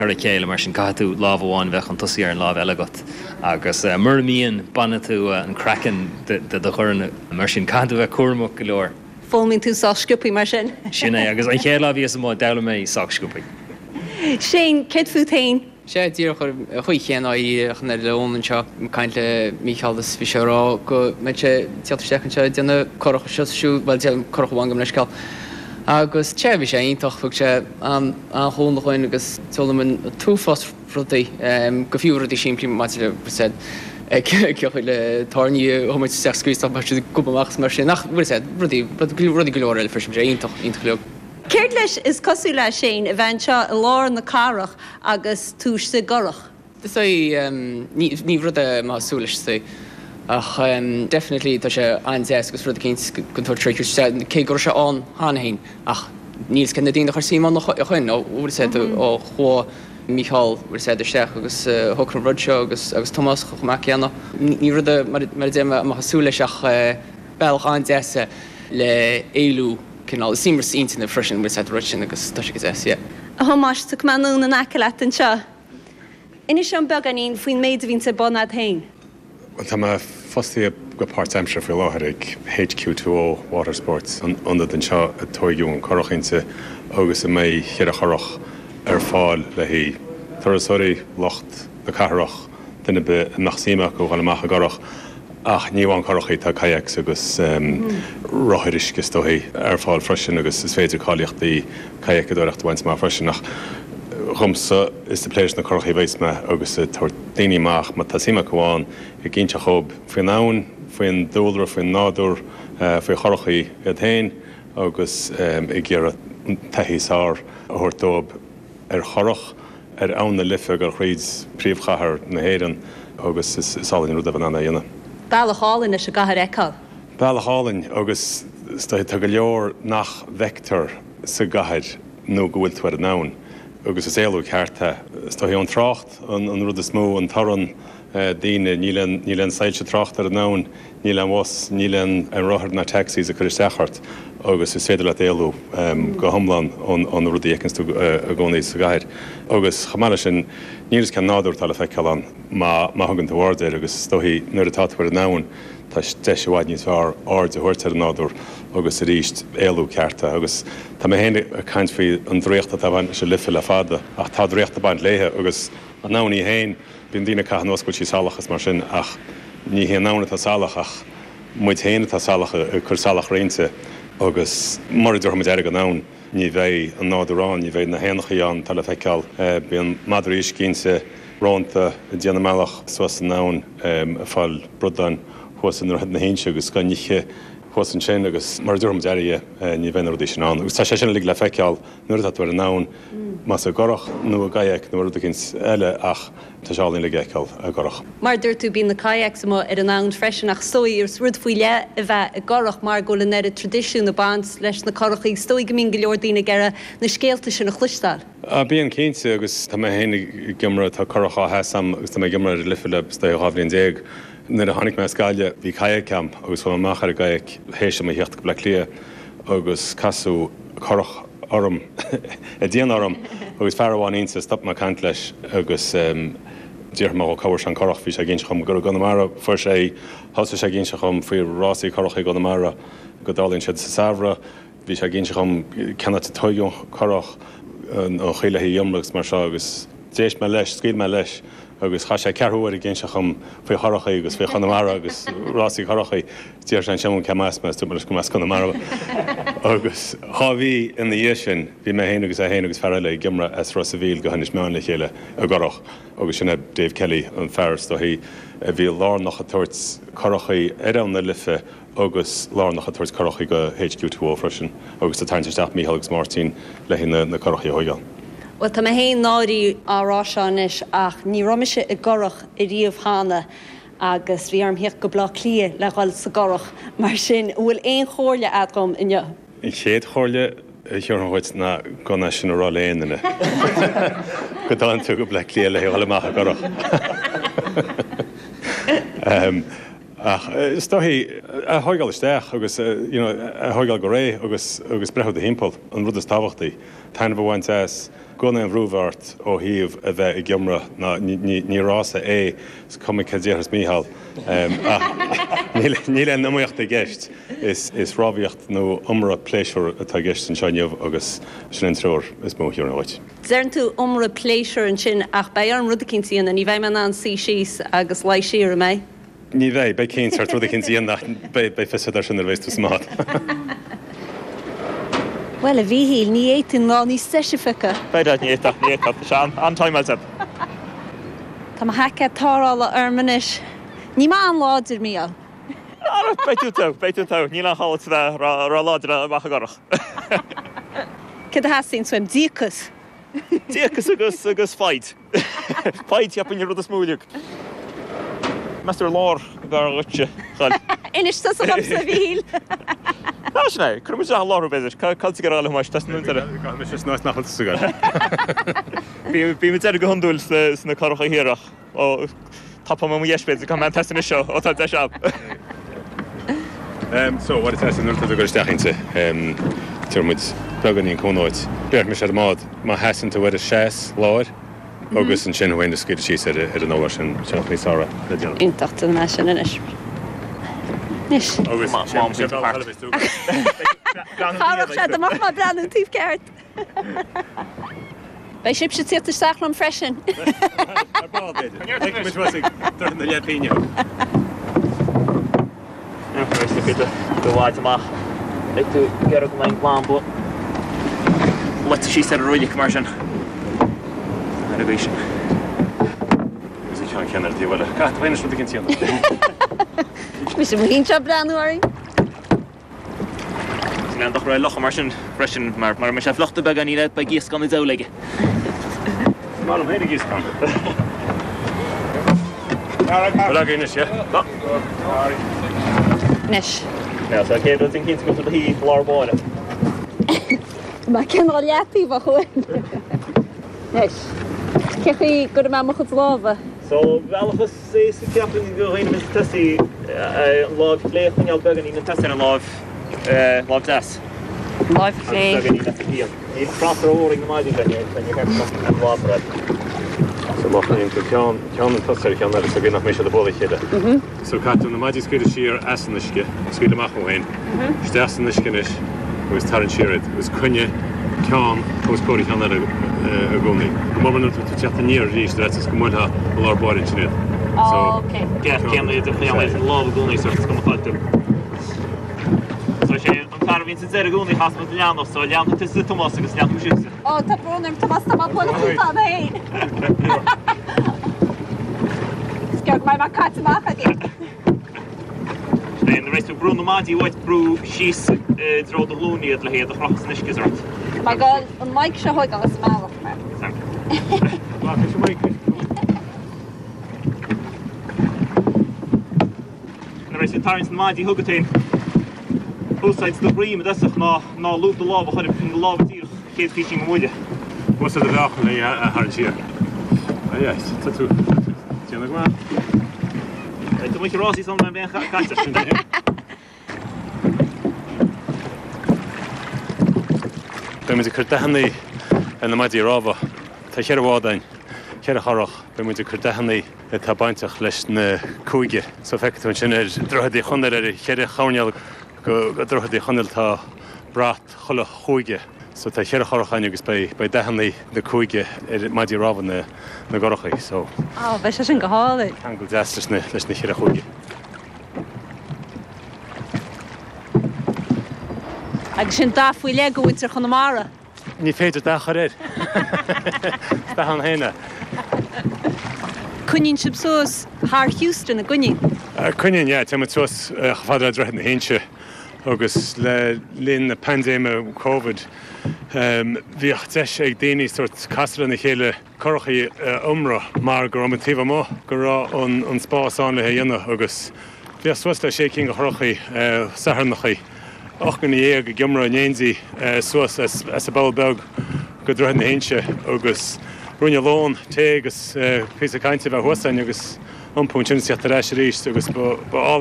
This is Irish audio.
Ar a chéile, mar sin caithfidh tú lámh amháin a bheith chun tosaigh ar an lámh eile agat agus mura mbíonn, baineann tú an craiceann de do dhorn, mar sin caithfidh tú bheith cúramach go leor. Foghlaimíonn tú sách sciobthaí mar sin. Sin é, agus an chéad lá a bhíos amuigh, d'fhoghlaim mé sách sciobthaí. Shane, céard fút féin? Sea, díreach ar an chaoi chéanna ach an oiread le Eoin anseo, ag caint le Mícheál is bhí sé ag rá go mbeidh sé ag tíocht isteach anseo ag déanamh curach anseo is siúd, bhuel, déanamh curach amháin gabh mo leithscéal. Agus, sea, bhí sé iontach, thug sé an-chúnamh dhúinn agus d'fhoghlaim an t-uafás rudaí, go fiú rudaí simplí maidir le, bhfuil a fhios a'd, cén chaoi le tairní a thabhairt isteach scaoileadh mar siad ag gobadh amach is mar sin, ach bhfuil a fhios a'd, rudaí, rudaí go leor eile freisin, bhí sé iontach, iontach uilig. Céard leis is cosúil le, Shane, a bheith anseo i lár na cathrach agus tú istigh i gcurach? Is é, ní rud é a mbeifeá ag súil leis is é. Ach definitely tá sé an-deas agus rud eicínt go dtabhairt sé isteach, cé go raibh sé ann cheana féin ach níl 's cé na daoine a chuir suim ann ó shoin, ó bhfuil 's a'd, ó chuaigh Mícheál bhfuil 's a'd isteach agus shocraigh an rud seo agus agus Tomás chomh maith céanna. Ní rud é mar a deir mé a mbeifeá ag súil leis ach bealach an-deas é le éalú cineál, is imreas intinne freisin bhfuil 's a'd an rud sin agus tá sé go deas, yeah. A Thomáis, tiocfaidh mé anonn in aice leat anseo. Inis dom beagáinín faoin méid a bhíonns ar bun a'd féin. Bhuel, tá mé fostaithe go páirtaimseartha faoi láthair ag HQ2O Watersports, an ionad anseo a tóigeadh an curach inti agus a mbeidh cheithre churach ar fáil le haghaidh turasóirí, lucht na cathrach, duine ar bith a mbeadh suim acu a dhul amach i gcurach. Ach ní amháin curachaí, tá kayaks agus rothair uisce is dóichí ar fáil freisin agus is féidir cáilíochtaí kayakadóireachta a bhaint amach freisin. Ach dhomsa, is ag plé leis na curachaí a bheas mé agus ag tabhairt daoine amach, má tá suim acu ann, ag inseacht dhóibh faoin abhainn, faoin dúlra, faoin nádúr, faoi churachaí iad féin agus ag iarraidh an taithí is fearr a thabhairt dóibh ar churach. ar Abhainn na Life ag dul thríd príomhchathair na hÉireann agus is álainn an rud é bheith in ann é a dhéanamh. Bealach álainn leis an gcathair a fheiceáil. Bealach álainn agus is dóiche tá go leor nach bhfeictear sa gcathair nó go bhfuil tú ar an abhainn agus is éalú ceart é. Is dóiche an trácht an rud is mó, an torann, daoine, níl aon, níl aon soilse tráchta ar an abhainn, Níl aon bhus, níl aon rothar ná taxis ag cur isteach ort agus is féidir leat éalú go hiomlán ó na rudaí a fheiceanns tú i gcónaí sa gcathair. Agus chomh maith leis sin, níl fhios cén nádúr atá le feiceáil ann má má thugann tú aird air agus is dóichí nuair atá tú ar an abhainn tá deis i bhfad níos fearr aird a thabhairt ar an nádúr agus arís éalú ceart é. Agus tá mé féin ag caint faoi an draíocht atá ag baint leis an Life le fada ach tá draíocht ag baint léithe agus an abhainn í féin Bíonn daoine ag caitheamh anuas go bhfuil sí salach is mar sin ach ní hé an abhainn atá salach ach muid féin atá salach ag cur salachar inti agus mura dtabharfaidh muid aire don abhainn ní bheidh an nádúr ann, ní bheidh na héanachaí ann atá le feiceáil. Bíonn madraí uisce inti, rónta ag déanamh a mbealach suas an abhainn ag fáil bradáin thuas i nDroichead na hInse agus dhá n-ithe thuas ansin agus mura dtabharfaidh muid aire dhi ní bheidh na rudaí sin ann agus tá sé sin uilig le feiceáil Nuair atá tú ar an abhainn, más i gcurach nó i gkayak nó rud eicínt eile ach tá sé álainn uilig a fheiceáil i gcurach. Mar a dúirt tú, bíonn na kayaks amuigh ar an abhainn freisin ach is dóigh is rud faoi leith a bheith i gcurach mar go bhfuil an oiread traidisiún ag baint leis na curachaí. Is dóigh go mbíonn go leor daoine ag iarraidh na scéalta sin a chloisteáil. Bíonn cinnte agus tá mé féin ag iomramh, tá curach á sheas a'm agus tá mé ag iomramh ar an Life le is dóiche 12 bhliain. Nuair a tháinig mé as Gaillimh bhí kayak a'm agus chuaigh mé amach ar an gkayak théis dom a theacht go Bleá Cliath agus casadh curach orm, ag déanamh orm, agus fear amháin inti, stop mé ag caint leis agus d'fhiafraigh mé dhó cá bhfuair sé an curach, bhí sé ag inse dhom gur i gConamara a fuair sé í, thosaigh sé ag inse dhom faoi rásaí curachaí i gConamara, go dtarlaíonn siad sa samhradh, bhí sé ag inse dhom cén áit a tóigeadh an curach, an chaoi le hí a iomramh agus mar seo agus d'éist mé leis, scaoil mé leis. Agus chaith sé ceathrú uair ag inseacht dhom faoi churachaí agus faoi Chonamara agus rásaí curachaí. D'fhiafraigh sé ansin cé as mé is dúirt mé leis go mba as Conamara mé. Agus dhá mhí ina dhiaidh sin bhí mé féin agus é féin agus fear eile ag iomramh as Ros a' Mhíl go hInis Meáin le chéile i gcurach agus sin é Dave Kelly, an fear is dóichí a bhí lárnach ag tabhairt curachaí ar Abhainn na Life agus lárnach ag tabhairt curachaí go HQ2O freisin agus ag tarraingt isteach Mícheál agus Máirtín le haghaidh na curachaí a thóigeáil. Bhuel, tá mé féin náirithe á rá seo anois ach ní raibh mise i gcurach ariamh cheana agus bhí orm theacht go Bleá Cliath le dhul sa gcurach, mar sin an bhfuil aon chomhairle a'd dhom inniu? An chéad chomhairle a thabharfainn dhuit ná gan é sin a rá le aon duine, go dtáinig tú go Bleá Cliath le dhul amach i gcurach. Ach is dóichí, a thóigeáil isteach agus you know a thóigeáil go réidh agus agus breathnú i do thimpeall, an rud is tábhachtaí. Taitneamh a bhaint as. Gan aon bhrú a bheith ort ó thaobh a bheith ag iomradh ná ní rása é, is cuma cad déarfas Mícheál, ach níl aon iomaíocht i gceist, is rámhaíocht nó iomradh pléisiúir atá i gceist anseo inniu agus sin an treoir is mó a thiúrfainn dhuit. Deireann tú iomradh pléisiúir ansin ach beidh orm rud eicínt a dhéanamh, ní bheidh mé in ann suí síos agus luí siar, an mbeidh? Ní bheidh, beidh cinnte ort rud eicínt a dhéanamh ach beidh fios agat air sin nuair a bheas tú sa mbád. Bhuel, a Mhíchíl, ní fhéadfainn lá níos deise a phiocadh. B'fhéidir, ní fhéadfá, ní fhéadfá, tá sé an-timeáilte. Tá mo sheaicéad tarrthála orm anois. Níl mé an-láidir, Mícheál. Ara, beidh tú togha, beidh tú togha. Níl aon chall duit a bheith ró-láidir amach i gcurach. Céard a theastaíonn uaim? Díocas. Díocas agus, agus foighid. Foighid, cheapfainn, an rud is mó uilig. Meas tú ar lár ab fhearr dhuitse dhul? Inis tusa dhomsa, a Mhíchíl. Á, sin é. Cuirfidh muid isteach i lár thú, b'fhéidir. Cá bhfuil tú ag iarraidh a dhul, a Thomáis? Tá san deireadh. Gabhfaidh mise san áit nach bhfuil tusa ag dul. Bím ag deireadh go hiondúil sna curacha thiar ach ó, tapóidh mé mo dheis, b'fhéidir. Caithfidh mé an test anois ó tá deis agam. So, what it nuair atá tú ag dul isteach inti, tabharfaidh muid beagáinín cúnamh duit. Béarfaidh mise ar an mbád, má sheasann tú ar an seas láir agus ansin thú féin a scaoileadh síos ar an urlár sin, sin an chaoi is fearr le déanamh. Iontach, déanfaidh mé sin anois. Anois. Agus sé bealach eile a bheas tú. Chabhródh sé dá mbeadh mé ag breathnú an taobh ceart. Beidh sibhse ag tíocht isteach liom freisin. Ar ball, b'fhéidir. Feicfidh muid thuas ag Droichead na Leathphingine thú. Do bhád amach. Beidh tú ag iarraidh go mbeidh an lamba luite síos ar an roilig mar sin. Ar an gcaoi sin. Agus an ceann céanna ar an taobh eile. Caithfidh tú féin is rud éicint a dhéanamh. Mise mo shuí anseo ag breathnú orainn. Is mé an dochar é locha mar sin freisin, mar mura mbeidh sé fliuchta beagáinín é, beidh iasc an diabhal aige. Is maith liom féin ag iasc ann. Bhfuil agaibh anois, yeah? Tá. Anois. Now, so céad rud déan cinnte go bhfuil tú i do shuí i lár báire. Mé cineál leataobhach uaim. Anois, cé chaoi go gcuirfidh mé mo chuid lámha? So, bealach is. Is éasca ceapaim do dhaoine a bhíonns ag tosaí an láimh chlé a choinneáil beagáinín chun tosaigh ar an láimh láimh deas. Láimh chlé. Agus beagáinín as a pian. Níl trácht rómhór ag na maidí seo, níor cheart an lámh a rud. So má choinníonn tú ceann ceann chun tosaigh ar an cheann eile so go nach mbeidh siad ag bualadh a chéile. So caithfidh tú na maidí a scaoileadh siar as an uisce, scaoil amach thú féin, isteach san uisce anois agus tarraing siar iad agus coinnigh ceann os comhair an cheann eile i gcónaí. Go mór mór nuair atá tú ag teacht aniar arís ar fhaitíos go mbuailfeá i lár báire ansin iad. So. Ok. Ceart céanna iad a choinneáil ar an lámh i gcónaí sort is cuma cá bhfuil tú. So sé an fear a bhíonn sa deireadh i gcónaí a chasfaidh leanbh so leanfaidh tusa Tomás agus leanfaidh sibhse. Ó tá brón orm Tomás tá mé ag bualadh fút ann féin. Is gearr go mbeidh mé caite amach agaibh. Nuair a bheas tú ag brú na maidí uait, brú síos i dtreo do ghlúine iad le hiad a chrochadh san uisce sort. Tá mé ag dul an mic seo a thógáil as an mbealach mar. Nuair a bheas tú ag tarraingt na maidí chugat féin, úsáid do dhroim i dtosach ná ná lúb do lámh a chur do lámha díreach chéad phísín go mbuaile. Úsáid do mheáchan le a tharraingt siar. Ah yes, tá tú déanamh go maith. Tá muid ag rásaí san mé bhean caite. Beidh muid ag cur dathannaí ar na maidí rámha. Tá cheithre bhád againn, cheithre churach. Beidh muid ag cur dathannaí atá bainteach leis na cúige. So feicfidh tú ansin ar Droichead Uí Chonaill ar cheithre choirnéal go Droichead Uí Chonaill tá brat chuile chúige. So tá cheithre churach againn agus beidh beidh dathannaí na cúige ar maidí rámha na na gcurachaí. So. Á, beidh sé sin go hálainn. Ceangal deas leis na leis na cheithre chúige. Agus sin dath faoi leith go mhuintir Chonamara. Ní féidir dath a chur air. Is dath ann féin é. Coinníonn sibh suas thar Houston, an gcoinníonn? Coinníonn, yeah. Téann muid suas chomh fada le Droichead na hInse agus le linn na paindéime Covid bhíodh deis ag daoine sórt casadh lena chéile curachaí a iomradh mar go raibh muid taobh amuigh, go raibh an spás ann le é a dhéanamh agus bhíodh suas le sé cinn de churachaí Satharnachaí, 18 nduine ag iomradh in éindí suas as an bPoll Beag go Droichead na hInse agus ruainne lóin, tae agus píosa cainte a bheith thuas againn agus iompú ansin is tíocht ar ais arís agus ba álainn.